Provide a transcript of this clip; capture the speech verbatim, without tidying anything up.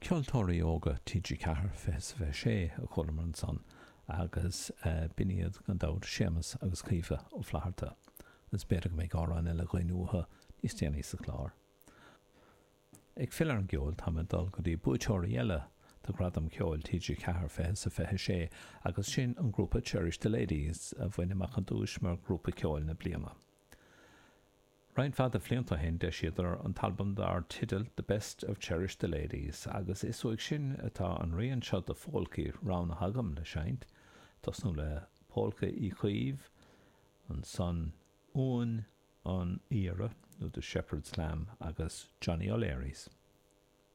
Ceoltóirí Óga T G Ceathair fiche is a fiche sé a chualamar ansan agus b'in iad gan dabht Séamus agus Caoimhe Ó Flatharta. Is b'fhéidir go mbeidh amhrán eile againn uathu níos déanaí sa chlár. Ag filleadh ar an gceol, táim ag dul go dtí buaiteoirí eile do Ghradam Ceoil T G Ceathair fiche is a fiche sé agus sin an grúpa Cherish the Ladies, a bhain amach an duais mar Ghrúpa Ceoil na Bliana. Roinnt mhaith de bhlianta ó shin d'eisíodar an t-albam dar teideal The Best of Cherish the Ladies agus is uaidh sin atá an rian seo de phólcaí roghnaithe agam le seinnt, tosnú le Pólca Uí Chaoimh, ansan Uan an Aoire nó The Shepherd's Lamb agus Johnny O'Leary's.